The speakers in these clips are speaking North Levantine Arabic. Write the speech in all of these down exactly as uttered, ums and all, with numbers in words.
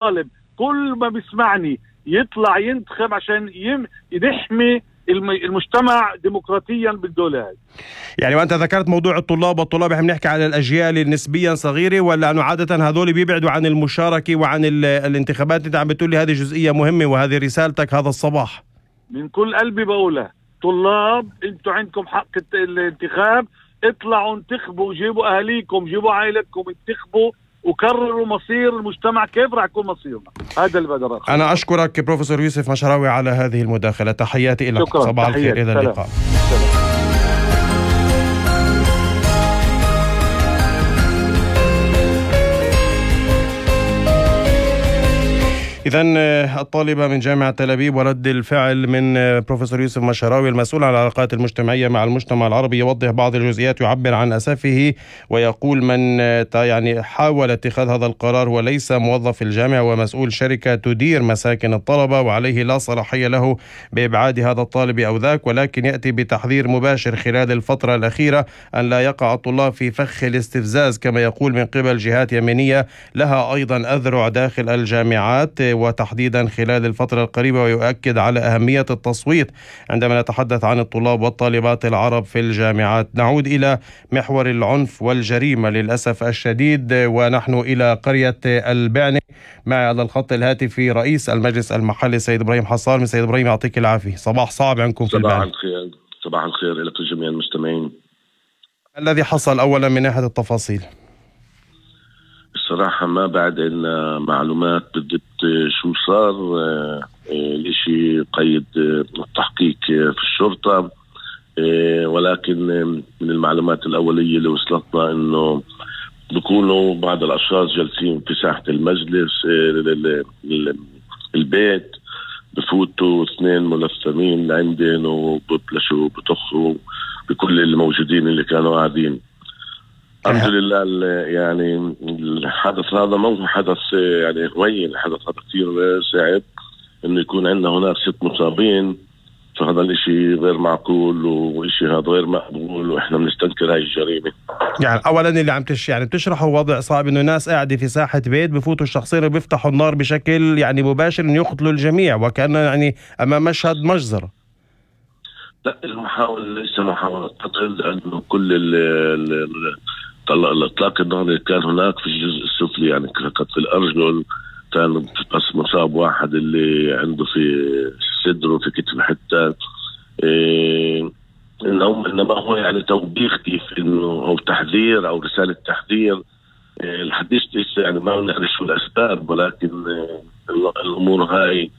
طالب كل ما بيسمعني يطلع ينتخب عشان يحمي المجتمع ديمقراطيا بالدولة هاي. يعني وأنت ذكرت موضوع الطلاب والطلاب، احنا بنحكي على الأجيال النسبيا صغيرة، ولا أنه عادة هذول بيبعدوا عن المشاركة وعن الانتخابات؟ أنت عم بتقول لي هذه جزئية مهمة وهذه رسالتك هذا الصباح. من كل قلبي بقولها، طلاب انتوا عندكم حق الانتخاب، اطلعوا انتخبوا، جيبوا أهاليكم، جيبوا عائلتكم، انتخبوا وكرروا مصير المجتمع كيف راح يكون مصيرنا. هذا اللي بقدر أقول. أنا أشكرك بروفيسور يوسف مشراوي على هذه المداخلة، تحياتي لك. صباح الخير، إلى اللقاء. إذن الطالبة من جامعة تل أبيب ورد الفعل من بروفيسور يوسف مشراوي المسؤول عن العلاقات المجتمعية مع المجتمع العربي، يوضح بعض الجزئيات، يعبر عن أسفه ويقول من يعني حاول اتخاذ هذا القرار وليس موظف الجامعة ومسؤول شركة تدير مساكن الطلبة، وعليه لا صلاحية له بإبعاد هذا الطالب أو ذاك، ولكن يأتي بتحذير مباشر خلال الفترة الأخيرة أن لا يقع الطلاب في فخ الاستفزاز كما يقول من قبل جهات يمينية لها أيضا أذرع داخل الجامعات وتحديدا خلال الفترة القريبة، ويؤكد على أهمية التصويت عندما نتحدث عن الطلاب والطالبات العرب في الجامعات. نعود إلى محور العنف والجريمة للأسف الشديد، ونحن إلى قرية البعنة. معي على الخط الهاتفي رئيس المجلس المحلي سيد إبراهيم حصال. من سيد إبراهيم يعطيك العافية، صباح صعب عندكم في البعنة. صباح الخير. صباح الخير لك جميع المستمعين. الذي حصل أولا من ناحية التفاصيل؟ الصراحة ما بعد إن معلومات بالضبط شو صار، الاشي قيد التحقيق في الشرطة، ولكن من المعلومات الأولية اللي وصلتنا إنه بيكونوا بعض الأشخاص جالسين في ساحة المجلس البيت، بفوتوا اثنين ملثمين لعندن وببلشوا بطخوا بكل الموجودين اللي كانوا قاعدين. الحمد لله. يعني الحدث هذا مو حدث يعني هوين، الحدث هذا كثير صعب انه يكون عندنا هناك ست مصابين، فهذا الاشي غير معقول واشي هذا غير مقبول، واحنا بنستنكر هاي الجريمة. يعني اولا اللي عم تش يعني بتشرحوا وضع صعب، انه ناس قاعدة في ساحة بيت بفوتوا الشخصين وبيفتحوا النار بشكل يعني مباشر انه يقتلوا الجميع، وكأنه يعني امام مشهد مجزرة. لا، المحاولة ليس محاولة قتل، لانه كل ال الإطلاق النار اللي كان هناك في الجزء السفلي، يعني كانت في الأرجل، كان بس مصاب واحد اللي عنده في صدره في كتف حتى إيه، إنما هو يعني توبيخ كيف إنه أو تحذير أو رسالة تحذير. إيه الحديث لسه يعني ما نعرف شو الأسباب، ولكن إيه الأمور هاي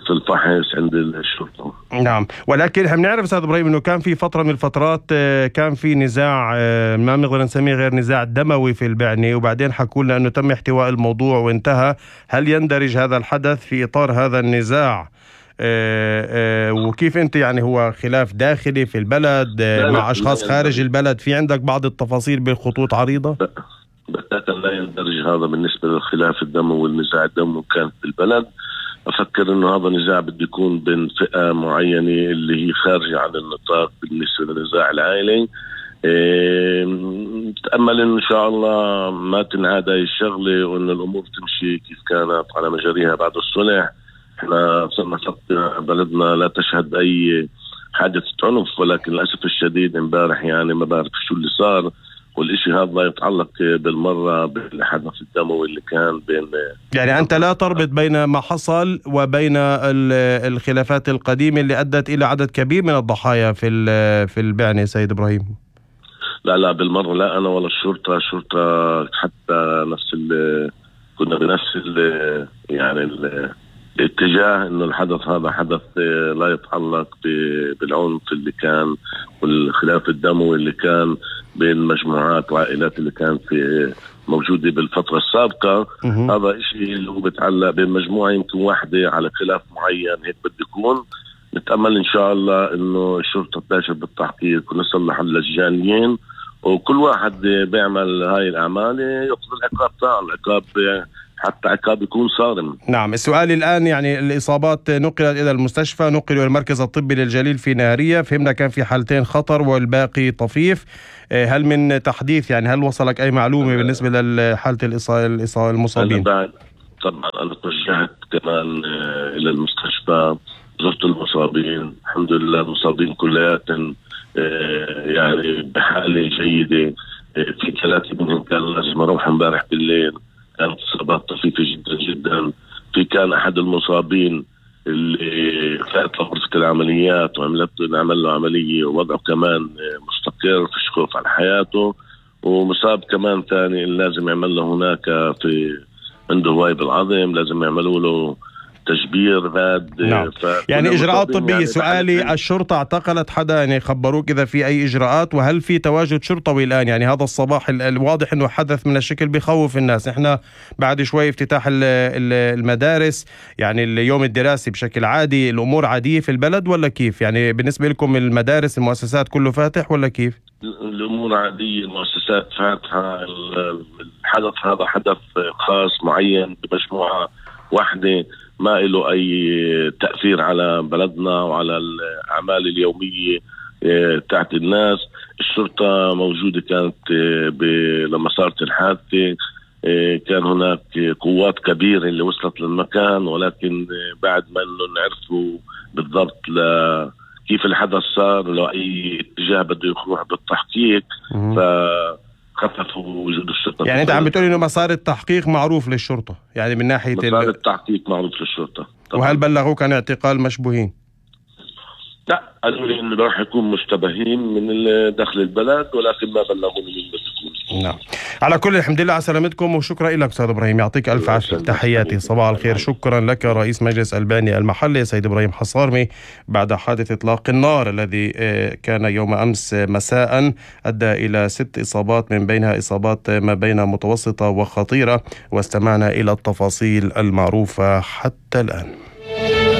في الفحص عند الشرطة. نعم، ولكن هم نعرف أستاذ إبراهيم أنه كان في فترة من الفترات كان في نزاع ما بنقدر نسميه غير نزاع دموي في البعنة، وبعدين حكوا لنا أنه تم احتواء الموضوع وانتهى. هل يندرج هذا الحدث في إطار هذا النزاع؟ وكيف أنت يعني هو خلاف داخلي في البلد مع أشخاص خارج البلد؟ في عندك بعض التفاصيل بالخطوط عريضة؟ بتاتا لا يندرج هذا بالنسبة للخلاف الدموي والنزاع الدموي كان في البلد. أفكر إنه هذا نزاع بده يكون بين فئة معينة اللي هي خارجة عن النطاق بالنسبة للنزاع العائلي. إيه نتأمل إن شاء الله ما تنعاد هاي الشغلة، وإن الأمور تمشي كيف كانت على مجاريها بعد الصلح. إحنا صرنا فترة بلدنا لا تشهد أي حادث عنف، ولكن للأسف الشديد امبارح يعني ما بعرف شو اللي صار، والإشي هذا لا يتعلق بالمرة بالحدث الدموي اللي كان بين. يعني أنت لا تربط بين ما حصل وبين الخلافات القديمة اللي أدت إلى عدد كبير من الضحايا في في البعنة سيد إبراهيم؟ لا لا بالمرة، لا أنا ولا الشرطة. الشرطة حتى نفس ال كنا بنفس ال يعني ال الاتجاه إنه الحدث هذا حدث لا يتعلق بالعنف اللي كان والخلاف الدموي اللي كان بين مجموعات وعائلات اللي كانت في موجودة بالفترة السابقة. هذا إشي اللي هو بتعلق بين مجموعة يمكن واحدة على خلاف معين، هيك بده يكون. نتأمل إن شاء الله إنه الشرطة تباشر بالتحقيق ونصلح اللجانيين، وكل واحد بيعمل هاي الأعمال يأخذ العقاب تاعه، العقاب حتى عقاب يكون صارم. نعم، السؤال الآن يعني الإصابات نقلت إلى المستشفى، نقلوا إلى المركز الطبي للجليل في نهرية، فهمنا كان في حالتين خطر والباقي طفيف. هل من تحديث يعني هل وصلك أي معلومة بالنسبة لحالة الإصابة المصابين؟ بعد طبعا أنا توجهت كمان إلى المستشفى، زرت المصابين، الحمد لله المصابين كلياتهم يعني بحالة جيدة. في ثلاثة منهم كان لازم أروح امبارح بالليل، كانت إصابات طفيفة جدا جدا. في كان أحد المصابين اللي فات لغرفة العمليات وعملت عمل له عملية ووضعه كمان مستقر، فيش خوف على حياته. ومصاب كمان ثاني اللي لازم يعمل له هناك في عنده هواي بالعظم، لازم يعملوا له تشبير باد. نعم. يعني إجراءات طبية. يعني سؤالي، الشرطة اعتقلت حدا؟ يعني خبروك إذا في أي إجراءات؟ وهل في تواجد شرطوي الآن؟ يعني هذا الصباح الواضح أنه حدث من الشكل بيخوف الناس. إحنا بعد شوي افتتاح المدارس، يعني اليوم الدراسي بشكل عادي، الأمور عادية في البلد ولا كيف؟ يعني بالنسبة لكم المدارس المؤسسات كله فاتح ولا كيف؟ الأمور عادية، المؤسسات فاتحة. الحدث هذا حدث خاص معين بمجموعة واحدة، ما له أي تأثير على بلدنا وعلى الأعمال اليومية تاعت الناس. الشرطة موجودة كانت لما صارت الحادثة، كان هناك قوات كبيرة اللي وصلت للمكان، ولكن بعد ما إنه نعرفوا بالضبط كيف الحدث صار، لو أي اتجاه بده يروح بالتحقيق، ف خففوا وجود الشرطة. يعني أنت عم بتقول إنه مسار التحقيق معروف للشرطة، يعني من ناحية مسار التحقيق معروف للشرطة طبعا. وهل بلغوك عن اعتقال مشبوهين؟ لا، قالوا لي إنه راح يكون مشتبهين من داخل البلد، ولكن ما بلغوني من بلد. نعم. على كل الحمد لله على سلامتكم، وشكرا لك أستاذ إبراهيم، يعطيك ألف عافية. تحياتي، صباح الخير. شكرا لك رئيس مجلس الباني المحلي سيد إبراهيم حصارمي بعد حادث إطلاق النار الذي كان يوم أمس مساء أدى إلى ست إصابات، من بينها إصابات ما بين متوسطة وخطيرة، واستمعنا إلى التفاصيل المعروفة حتى الآن.